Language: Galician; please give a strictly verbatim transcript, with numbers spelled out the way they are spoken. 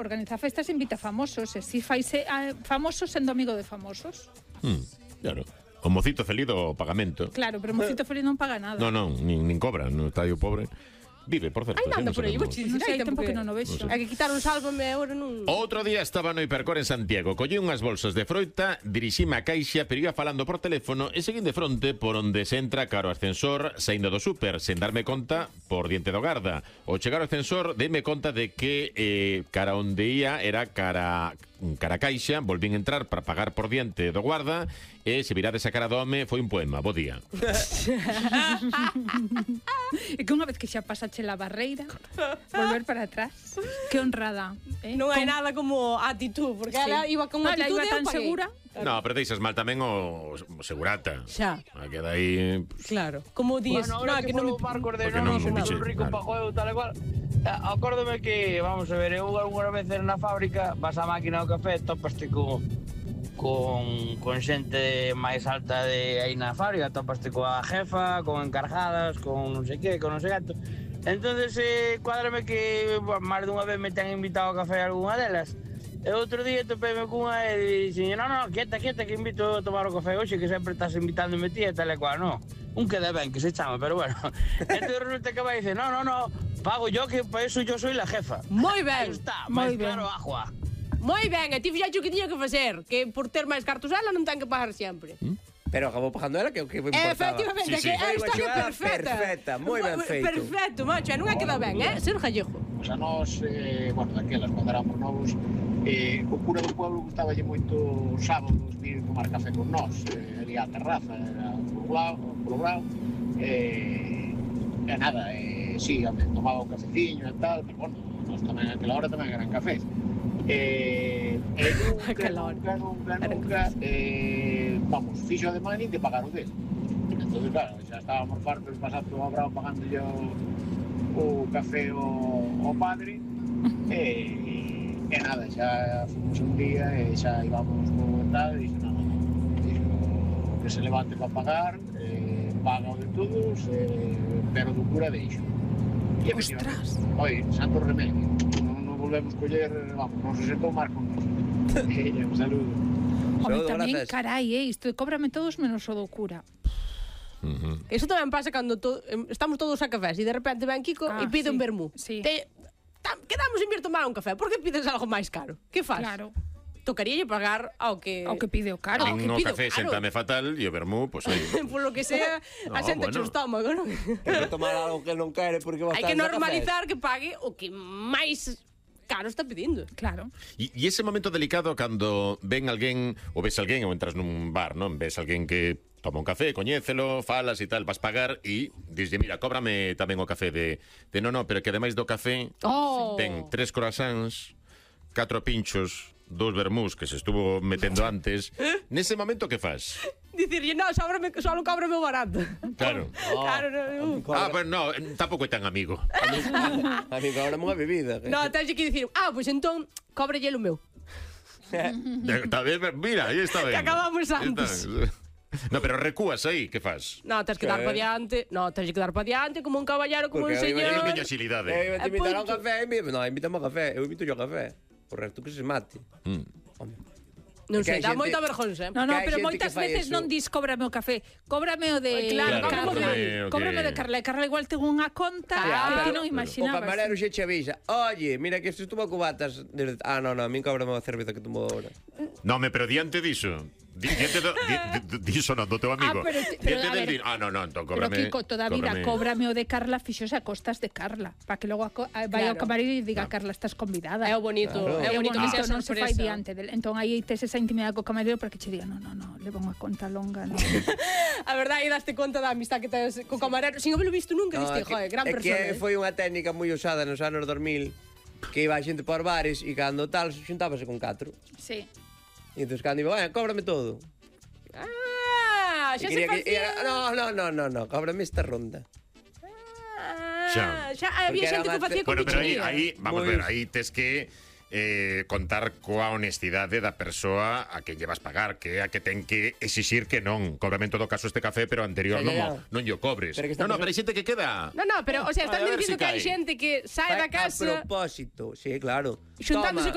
Organiza festas e invita famosos, e si faise a famosos sendo amigo de famosos. Hmm, claro. O mocito feliz do pagamento. Claro, pero o mocito feliz non paga nada. Non, non, nin, nin cobra, no estadio pobre. Vive, por certo. Ai, nada por aí, vou che Non dicir, sei, hai tempo tempo que non o vexo. Hai que quitar un sálvame agora non... Outro día estaba no Hipercor en Santiago. Collí unhas bolsas de froita, dirixime a caixa, pero iba falando por teléfono e seguín de fronte por onde se entra caro ascensor, saindo do súper, sen darme conta por diante do garda. Ao chegar ao ascensor, deme conta de que eh, cara onde ia era cara... cara caixa, volvín entrar para pagar por diante do guarda e se virades a cara do home foi un poema, bo día. E que unha vez que xa pasache la barreira, volver para atrás. Que honrada, eh? Non hai Con... nada como actitud, porque Sí. ela iba con No, ela actitud iba e eu tan paguei. segura. No, pero deixas mal tamén o, o segurata. Xa. A queda aí... Claro, como días, Bueno, no, ahora que que non non me... Marcos de Porque non, non non me son piche, rico claro. pa juego tal e cual. Eh, Acórdome que, vamos a ver, eu algunha vez na fábrica vas á máquina do café, topaste con con, con xente máis alta de aí na fábrica, topaste coa jefa, con encargadas, con non sei que, con non sei gato. Entonces, eh, cuádrame que bueno, máis dunha vez me ten invitado ao café a algunha delas. E outro día topeme cunha e dixen, non, non, quieta, quieta, que invito a tomar o café hoxe, que sempre estás invitándome ti e tal e cual, non. Un queda ben, que se chama, pero bueno. Entón resulta que vai dice, no, no, no, pago yo, que para eso yo soy la jefa. Moi Aí ben, está, moi máis ben. claro, agua. moi ben, e ti fixaxe o que tiña que facer, que por ter máis cartos ela non ten que pagar sempre. Pero acabou pagando ela, que o que me importaba. Efectivamente, Sí, sí. que é a Foi unha historia xogada perfecta. perfecta, moi ben feito. Perfecto, macho, e non é queda ben, eh? Ser gallego. Pois a nós, eh, bueno, daquelas, cando éramos novos, eh, o cura do pueblo gustaballe moito os sábados vir tomar café con nós, eh, ali á terraza, era polo lado, polo brao, eh, e nada, eh, sí, home, tomaba un cafeciño e tal, pero bueno, nós tamén aquela hora tamén eran cafés. Eh, e nunca, Aquela hora. nunca, nunca, Eran nunca, eh, vamos, fixo ademán nin de pagar o dele. Entón, claro, xa estábamos fartos de pasar todo a brao pagando o, o café ao, ao padre, e, e nada, xa fomos un día e xa íbamos co tal, e dixo, non, non, non, dixo, que se levante para pagar, eh, paga o de todos, eh, pero do cura deixo. E Ostras. oi, santo remedio, non nos volvemos coller, vamos, non se sentou máis con nós. E un saludo. Home, Saúdo, tamén, grazas. carai, eh, isto de cóbrame todos menos o do cura. Uh-huh. Eso tamén pasa cando to, em, estamos todos a cafés e de repente ven Kiko Ah, e pide sí, un vermú. sí. Te, tam, quedamos en vir tomar un café, por que pides algo máis caro? Que faz? Claro. Tocaríalle pagar ao que... Ao que pide o caro. Ao En que o pido, café claro. séntame fatal e o vermú, pois aí. Por lo que sea, No, a xente bueno. bueno. o estómago, non? Hai que tomar algo que non quere porque Hai que bastante normalizar que pague o que máis caro está pedindo. Claro. E, e ese momento delicado cando ven alguén ou ves alguén ou entras nun bar, non? Ves alguén que toma un café, coñécelo, falas e tal, vas pagar e dislle, mira, cóbrame tamén o café de, de no, no, pero que ademais do café Oh. ten tres croissants, catro pinchos, dous vermús que se estuvo metendo antes. Nese momento que fas? Dicirlle, no, sóbrame, só non cóbrame o barato. Claro. Claro, no, uh. Ah, pero no, tampouco é tan amigo. A mí cobra unha bebida. No, tens que dicir, ah, pois pues entón, cóbrelle o meu. Está ben, mira, aí está ben. Que acabamos antes. Está. No, pero recúas aí, que fas? No, tens que dar para diante. No, tens que dar para diante como un caballero, como un Porque aí Eu non señor. teño axilidade. Eu te Eh, invitar a un punto. café, no, invítame ao café, eu invito yo ao café. O resto que se mate. Mm. Home. Non Que sei, hai dá xente- moita vergonza, eh? No, no, Que hai pero xente moitas que fai veces eso. non dis cóbrame o café, cóbrame o de Ai, claro, Carla. cóbrame o que- Cóbrame o de Carla. E Carla igual ten unha conta Claro, que ti pero- non O imaginabas. camarero xe che avisa. Oye, mira que se estuvo cubatas desde... Ah, no, no, a min cóbrame a cerveza que tomo ahora. No, me, pero diante diso. Di, diante do, di, di, diso non, do teu amigo. Ah, pero te- pero, diante a del ver, dir, ah, no, no, entón Pero cóbrame. Kiko, toda a vida, cóbrame. cóbrame o de Carla, fixose a costas de Carla, para que logo a co- a- vai ao Claro. camarero e diga, Carla, estás convidada. É o bonito, Claro. é É o bonito que sea non se fai sorpresa. diante del. Entón aí tes esa intimidade co camarero para que che diga, no, no, no, levo unha conta longa, no. A verdade, aí daste conta da amistad que tes co camarero. Sin habelo visto nunca, No, diste, é que- joder, gran é persona. que eh. foi unha técnica moi usada nos anos dos mil, que iba a xente por bares e cando tal xuntábase con catro. Sí. E entón cando iba, bueno, cóbrame todo. Ah, xa E se quería que- e facía. era, no, no, no, no, no, cóbrame esta ronda. Ah, Xa. xa había Porque xente era que o facía con Bueno, pero aí, pichería. aí vamos a Moi- ver, aí tes que eh, contar coa honestidade da persoa a que llevas pagar, que é a que ten que exixir que non. Cóbrame en todo caso este café, pero anterior Xa, non, xa, o- xa. non lle o cobres. Pero que está No, no, pasando- pero hai xente que queda. No, no, pero, o sea, A están ver dicindo si que hai cae. xente que sae da A casa propósito, sí, claro. xuntándose Toma.